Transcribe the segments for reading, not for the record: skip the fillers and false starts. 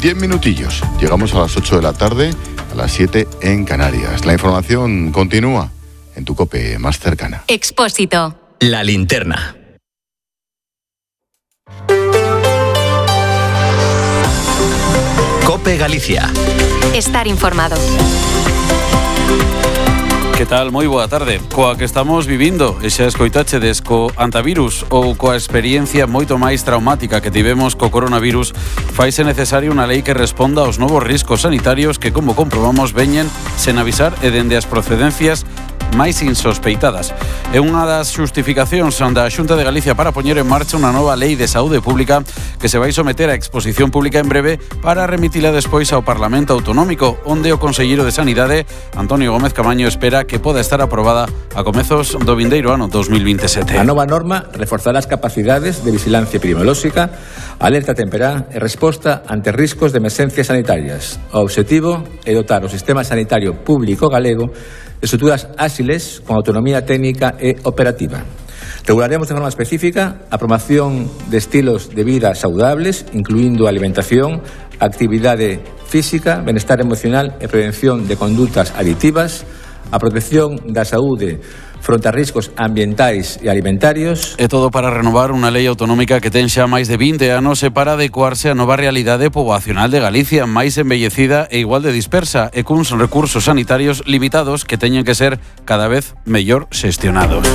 10 minutillos. Llegamos a las 8 de la tarde, a las 7 en Canarias. La información continúa en tu COPE más cercana. Expósito. La linterna. COPE Galicia. Estar informado. Que tal? Moi boa tarde. Coa que estamos vivindo, e xa escoitachedes co antivirus ou coa experiencia moito máis traumática que tivemos co coronavirus, faise necesaria unha lei que responda aos novos riscos sanitarios que, como comprobamos, veñen sen avisar e dende as procedencias máis insospeitadas. É unha das xustificacións da Xunta de Galicia para poñer en marcha unha nova lei de saúde pública que se vai someter a exposición pública en breve para remitila despois ao Parlamento Autonómico, onde o conselleiro de Sanidade, Antonio Gómez Camaño, espera que poda estar aprobada a comezos do vindeiro ano 2027. A nova norma reforzará as capacidades de vigilancia epidemiolóxica, alerta temperá e resposta ante riscos de emerxencias sanitarias. O obxectivo é dotar o sistema sanitario público galego de estruturas áxiles con autonomía técnica e operativa. Regularemos de forma específica a promoción de estilos de vida saudables, incluindo alimentación, actividade física, benestar emocional e prevención de condutas aditivas, a protección da saúde fronte a riscos ambientais e alimentarios. É todo para renovar unha lei autonómica que ten xa máis de 20 anos e para adecuarse á nova realidade poboacional de Galicia, máis embellecida e igual de dispersa, e cuns recursos sanitarios limitados que teñen que ser cada vez mellor xestionados.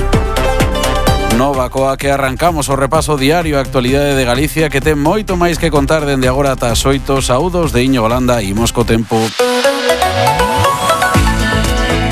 Nova coa que arrancamos o repaso diario a actualidade de Galicia, que ten moito máis que contar dende agora ata as 8. Saúdos de Iño Holanda e imos co tempo.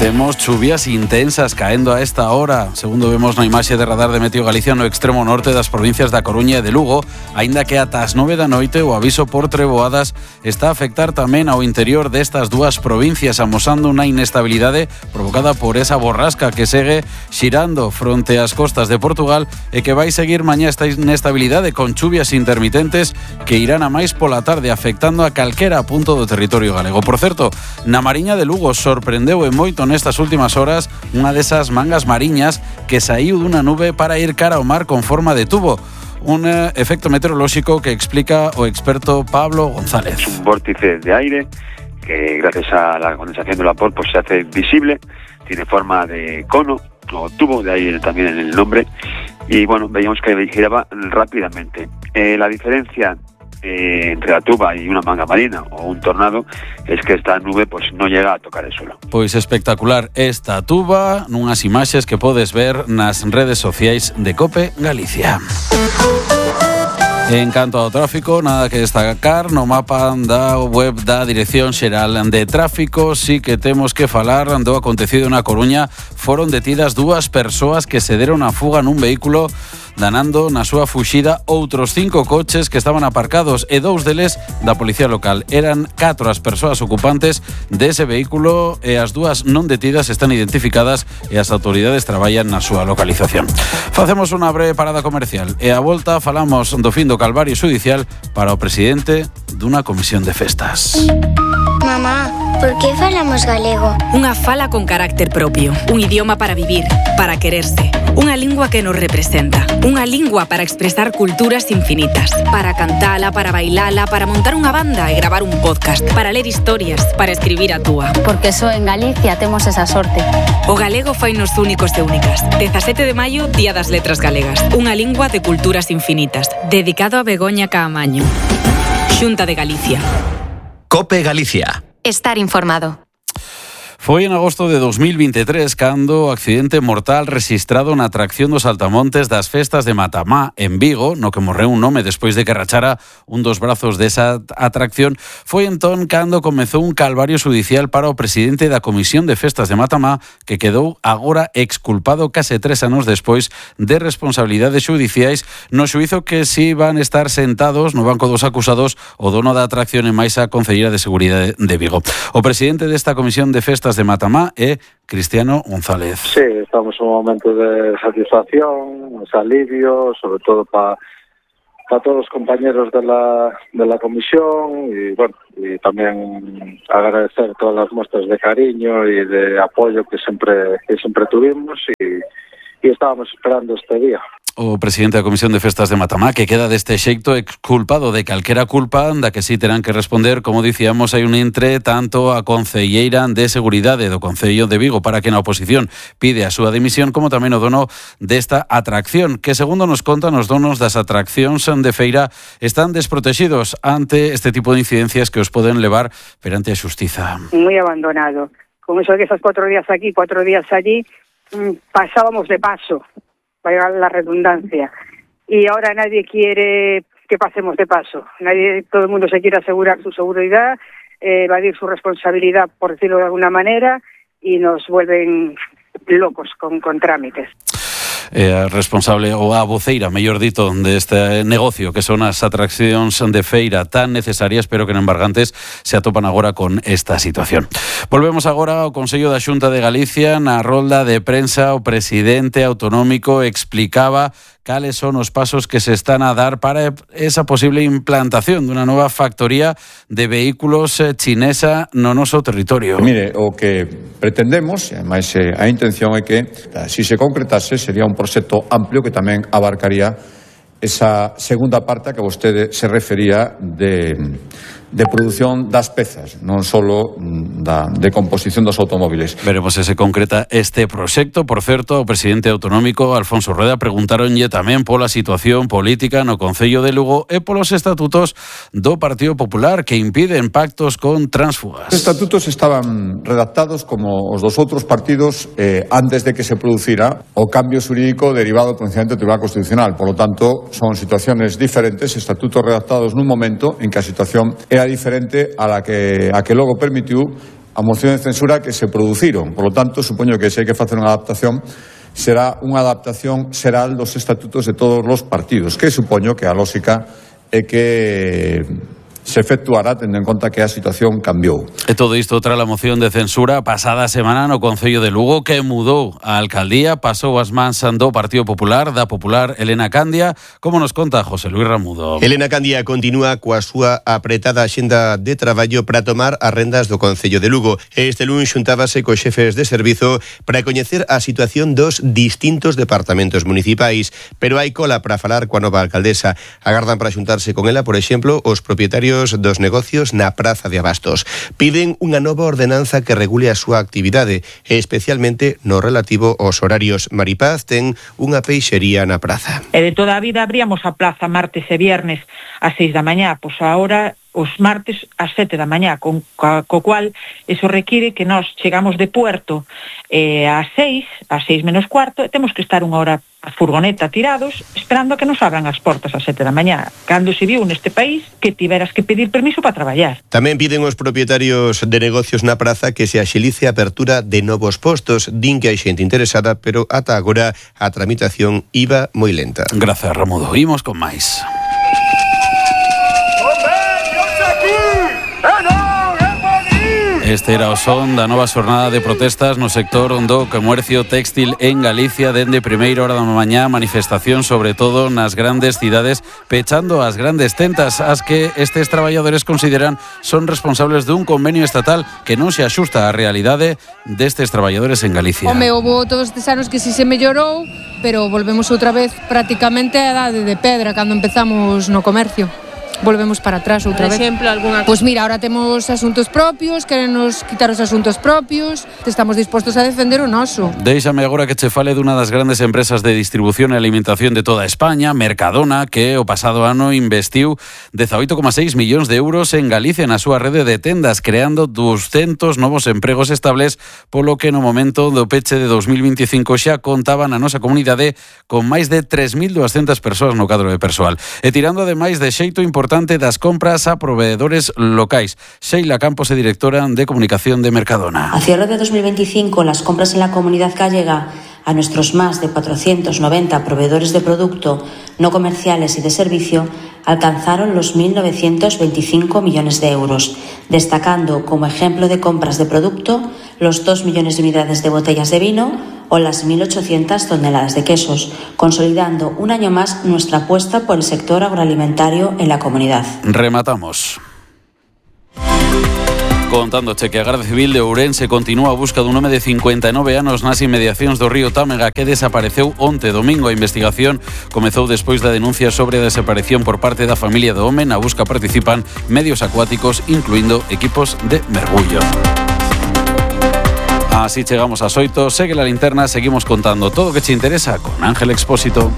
Temos chuvias intensas caendo a esta hora, segundo vemos na imaxe de radar de Meteo Galicia no extremo norte das provincias da Coruña e de Lugo, aínda que ata as 9 da noite o aviso por treboadas está a afectar tamén ao interior destas dúas provincias, amosando unha inestabilidade provocada por esa borrasca que segue xirando fronte ás costas de Portugal e que vai seguir mañá esta inestabilidade con chuvias intermitentes que irán a máis pola tarde, afectando a calquera punto do territorio galego. Por certo, na Mariña de Lugo sorprendeu e moito nestas últimas horas unha desas mangas mariñas que saíu dunha nube para ir cara ao mar con forma de tubo. Un efecto meteorolóxico que explica o experto Pablo González. Un vórtice de aire que gracias a la condensación del vapor pues se hace visible, tiene forma de cono o tubo, de ahí también en el nombre, y bueno, veíamos que giraba rápidamente. La diferencia entre la tuba y una manga marina o un tornado es que esta nube pues no llega a tocar el suelo. Pois espectacular esta tuba nunhas imaxes que podes ver nas redes sociais de COPE Galicia. En canto ao tráfico, nada que destacar. No mapa da web da Dirección Xeral de Tráfico sí que temos que falar do acontecido na Coruña. Foron detidas 2 persoas que se deron a fuga nun vehículo, danando na súa fuxida outros 5 coches que estaban aparcados e 2 deles da policía local. Eran 4 as persoas ocupantes dese vehículo e as 2 non detidas están identificadas e as autoridades traballan na súa localización. Facemos unha breve parada comercial e a volta falamos do fin do calvario xudicial para o presidente dunha comisión de festas. Mamá, por que falamos galego? Unha fala con carácter propio, un idioma para vivir, para quererse, unha lingua que nos representa, unha lingua para expresar culturas infinitas, para cantala, para bailala, para montar unha banda e gravar un podcast, para ler historias, para escribir a túa. Porque só en Galicia temos esa sorte. O galego fainos únicos e únicas. 17 de maio, Día das Letras Galegas. Unha lingua de culturas infinitas. Dedicado a Begoña Caamaño. Xunta de Galicia. COPE Galicia. Estar informado. Foi en agosto de 2023 cando o accidente mortal rexistrado na atracción dos Saltamontes das festas de Matamá, en Vigo, no que morreu un home despois de que rachara un dos brazos desa atracción. Foi entón cando comezou un calvario xudicial para o presidente da Comisión de Festas de Matamá, que quedou agora exculpado case 3 anos despois de responsabilidades xudiciais no xuízo que si van estar sentados no banco dos acusados o dono da atracción e máis a Concelleira de Seguridade de Vigo. O presidente desta Comisión de Festas de Matamá é Cristiano González. Sí, estamos en un momento de satisfacción, de alivio, sobre todo para todos los compañeros de la comisión y bueno, y también agradecer todas las muestras de cariño y de apoyo que siempre tuvimos y estábamos esperando este día. o presidente da Comisión de Festas de Matamá, que queda deste xeito exculpado de calquera culpa da que sí terán que responder. Como dicíamos, hai un entre tanto a concelleira de Seguridade do Concello de Vigo para que na oposición pide a súa dimisión, como tamén o dono desta atracción, que segundo nos contan os donos das atraccións de feira están desprotegidos ante este tipo de incidencias que os poden levar perante a xustiza. Muy abandonado. Con eso de que esos 4 días aquí, 4 días allí, pasábamos de paso, valga la redundancia. Y ahora nadie quiere que pasemos de paso. Todo el mundo se quiere asegurar su seguridad, evadir su responsabilidad, por decirlo de alguna manera, y nos vuelven locos con trámites. Responsable ou a voceira, mellor dito, deste negocio que son as atraccións de feira tan necesarias, pero que en embargantes se atopan agora con esta situación. Volvemos agora ao Consello da Xunta de Galicia. Na rolda de prensa, o presidente autonómico explicaba cales son os pasos que se están a dar para esa posible implantación dunha nova factoría de vehículos chinesa no noso territorio. Mire, o que pretendemos, e ademais a intención é que, se se concretase, sería un proxecto amplio que tamén abarcaría esa segunda parte a que vostede se refería de produción das pezas, non solo de composición dos automóviles. Veremos se se concreta este proxecto. Por certo, o presidente autonómico Alfonso Rueda preguntaronlle tamén pola situación política no Concello de Lugo e polos estatutos do Partido Popular que impiden pactos con tránsfugas. Os estatutos estaban redactados como os dos outros partidos antes de que se producira o cambio xurídico derivado do pronunciamento do Tribunal Constitucional. Por lo tanto, son situaciones diferentes, estatutos redactados nun momento en que a situación era diferente a la que logo permitiu a moción de censura que se produciron. Por lo tanto, supoño que se hai que facer unha adaptación, será unha adaptación xeral dos estatutos de todos os partidos, que supoño que a lógica é que se efectuará tendo en conta que a situación cambiou. E todo isto tras a moción de censura pasada semana no Concello de Lugo que mudou a alcaldía, pasou as mans do Partido Popular, da popular Elena Candia, como nos conta José Luis Ramudo. Elena Candia continúa coa súa apretada axenda de traballo para tomar as rendas do Concello de Lugo. Este lunes xuntábase cos xefes de servizo para coñecer a situación dos distintos departamentos municipais, pero hai cola para falar coa nova alcaldesa. Agardan para xuntarse con ela, por exemplo, os propietarios dos negocios na Praza de Abastos. Piden unha nova ordenanza que regule a súa actividade, especialmente no relativo aos horarios. Maripaz ten unha peixería na praza. E de toda a vida abríamos a plaza martes e viernes ás 6 da mañá, pois agora os martes ás 7 da mañá, co cual eso require que nós chegamos de Puerto ás 6 menos cuarto, e temos que estar unha hora a furgoneta tirados esperando a que nos abran as portas ás 7 da mañá. Cando se viu neste país que tiveras que pedir permiso para traballar. Tamén piden os propietarios de negocios na praza que se axilice a apertura de novos postos. Din que hai xente interesada, pero ata agora a tramitación iba moi lenta. Grazas, Ramudo. Imos con máis. Este era o son da nova xornada de protestas no sector do comercio téxtil en Galicia. Dende primeira hora da mañá, manifestación sobre todo nas grandes cidades, pechando as grandes tentas, as que estes traballadores consideran son responsables dun convenio estatal que non se axusta á realidade destes traballadores en Galicia. Home, houve todos estes anos que si se mellorou, pero volvemos outra vez prácticamente a edade de pedra cando empezamos no comercio. Volvemos para atrás outra vez. Por exemplo, alguna... Pois mira, ahora temos asuntos propios, querenos quitar os asuntos propios, estamos dispostos a defender o noso. Déixame agora que che fale dunha das grandes empresas de distribución e alimentación de toda España, Mercadona, que o pasado ano investiu 18,6 millóns de euros en Galicia na súa rede de tendas, creando 200 novos empregos estables, polo que no momento do peche de 2025 xa contaban a nosa comunidade con máis de 3.200 persoas no cadro de persoal. E tirando ademais de xeito importante das compras a proveedores locais. Sheila Campos é directora de comunicación de Mercadona. A cierre de 2025, las compras en la comunidad gallega a nuestros más de 490 proveedores de producto no comerciales y de servicio alcanzaron los 1.925 millones de euros, destacando como ejemplo de compras de producto los 2 millones de unidades de botellas de vino o las 1.800 toneladas de quesos, consolidando un año más nuestra apuesta por el sector agroalimentario en la comunidad. Rematamos. Contándoche que a Garda Civil de Ourense continúa a busca dun home de 59 anos nas inmediacións do río Támega que desapareceu onte domingo. A investigación comezou despois da denuncia sobre a desaparición por parte da familia do home. Na busca participan medios acuáticos, incluindo equipos de mergullo. Así chegamos ás 8. Segue la linterna, seguimos contando todo o que te interesa con Ángel Expósito.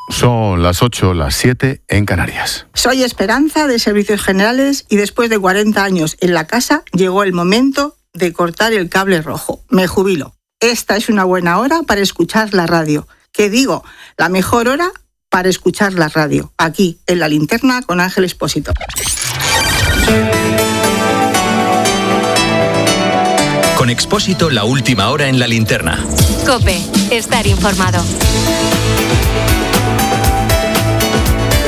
Son las 8, las 7 en Canarias. Soy Esperanza de Servicios Generales y después de 40 años en la casa llegó el momento de cortar el cable rojo. Me jubilo. Esta es una buena hora para escuchar la radio. ¿Qué digo? La mejor hora para escuchar la radio. Aquí, en La Linterna, con Ángel Expósito. Con Expósito, la última hora en La Linterna. COPE. Estar informado.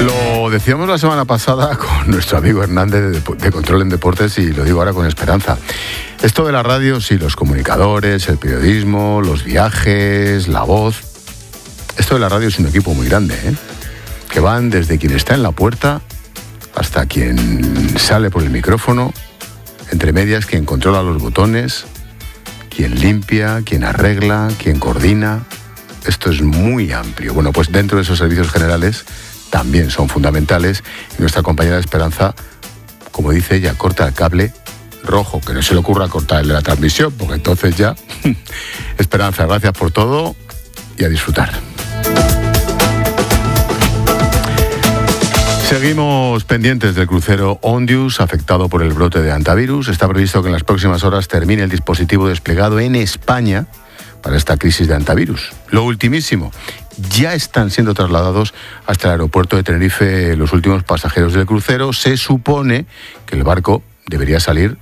Lo decíamos la semana pasada con nuestro amigo Hernández de Control en Deportes y lo digo ahora con esperanza. Esto de la radio, sí, los comunicadores, el periodismo, los viajes, la voz. Esto de la radio es un equipo muy grande, ¿eh? Que van desde quien está en la puerta hasta quien sale por el micrófono, entre medias quien controla los botones, quien limpia, quien arregla, quien coordina. Esto es muy amplio. Bueno, pues dentro de esos servicios generales también son fundamentales. Y nuestra compañera Esperanza, como dice ella, corta el cable rojo, que no se le ocurra cortar el de la transmisión, porque entonces ya... Esperanza, gracias por todo y a disfrutar. Seguimos pendientes del crucero Ondius, afectado por el brote de hantavirus. Está previsto que en las próximas horas termine el dispositivo desplegado en España para esta crisis de hantavirus. Lo ultimísimo, ya están siendo trasladados hasta el aeropuerto de Tenerife los últimos pasajeros del crucero. Se supone que el barco debería salir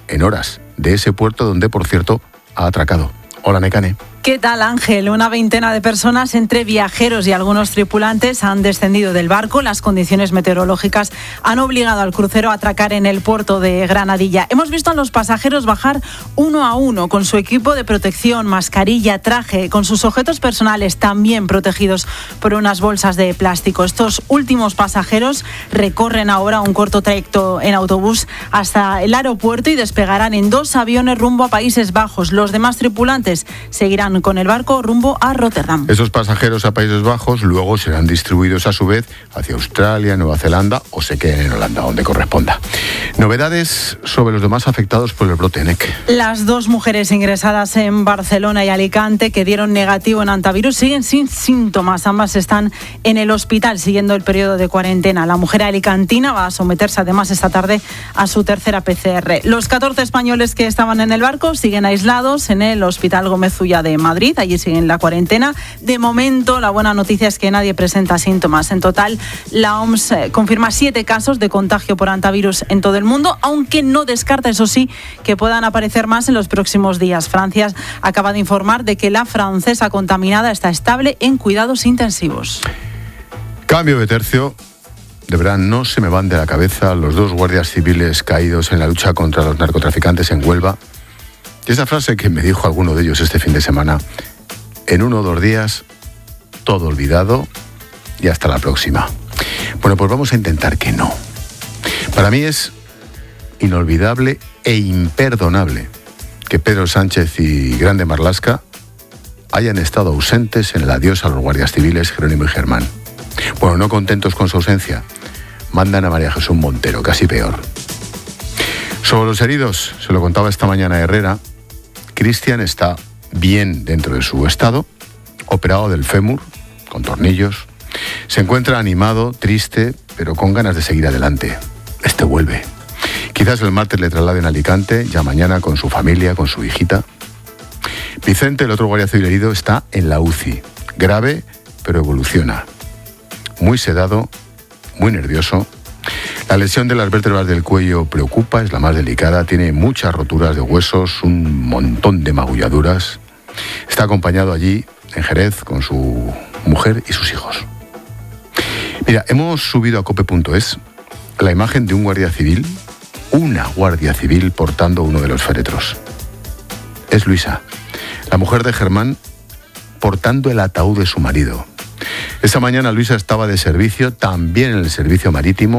en horas de ese puerto donde, por cierto, ha atracado. Hola, Nekane. ¿Qué tal, Ángel? Una veintena de personas, entre viajeros y algunos tripulantes, han descendido del barco. Las condiciones meteorológicas han obligado al crucero a atracar en el puerto de Granadilla. Hemos visto a los pasajeros bajar uno a uno con su equipo de protección, mascarilla, traje, con sus objetos personales también protegidos por unas bolsas de plástico. Estos últimos pasajeros recorren ahora un corto trayecto en autobús hasta el aeropuerto y despegarán en 2 aviones rumbo a Países Bajos. Los demás tripulantes seguirán con el barco rumbo a Rotterdam. Esos pasajeros a Países Bajos luego serán distribuidos a su vez hacia Australia, Nueva Zelanda o se queden en Holanda, donde corresponda. Novedades sobre los demás afectados por el brote NEC. Las 2 mujeres ingresadas en Barcelona y Alicante que dieron negativo en hantavirus siguen sin síntomas. Ambas están en el hospital siguiendo el periodo de cuarentena. La mujer alicantina va a someterse además esta tarde a su tercera PCR. Los 14 españoles que estaban en el barco siguen aislados en el Hospital Gómez Ulla de Madrid, allí siguen la cuarentena. De momento, la buena noticia es que nadie presenta síntomas. En total, la OMS confirma 7 casos de contagio por hantavirus en todo el mundo, aunque no descarta, eso sí, que puedan aparecer más en los próximos días. Francia acaba de informar de que la francesa contaminada está estable en cuidados intensivos. Cambio de tercio. De verdad, no se me van de la cabeza los 2 guardias civiles caídos en la lucha contra los narcotraficantes en Huelva. Y esa frase que me dijo alguno de ellos este fin de semana: en 1 o 2 días, todo olvidado y hasta la próxima. Bueno, pues vamos a intentar que no. Para mí es inolvidable e imperdonable que Pedro Sánchez y Grande Marlaska hayan estado ausentes en el adiós a los guardias civiles Jerónimo y Germán. Bueno, no contentos con su ausencia, mandan a María Jesús Montero, casi peor. Sobre los heridos, se lo contaba esta mañana Herrera, Cristian está bien dentro de su estado, operado del fémur, con tornillos. Se encuentra animado, triste, pero con ganas de seguir adelante. Este vuelve. Quizás el martes le trasladen a Alicante, ya mañana con su familia, con su hijita. Vicente, el otro guardia civil herido, está en la UCI. Grave, pero evoluciona. Muy sedado, muy nervioso. La lesión de las vértebras del cuello preocupa, es la más delicada, tiene muchas roturas de huesos, un montón de magulladuras. Está acompañado allí, en Jerez, con su mujer y sus hijos. Mira, hemos subido a cope.es la imagen de un guardia civil, una guardia civil portando uno de los féretros. Es Luisa, la mujer de Germán, portando el ataúd de su marido. Esa mañana Luisa estaba de servicio, también en el servicio marítimo,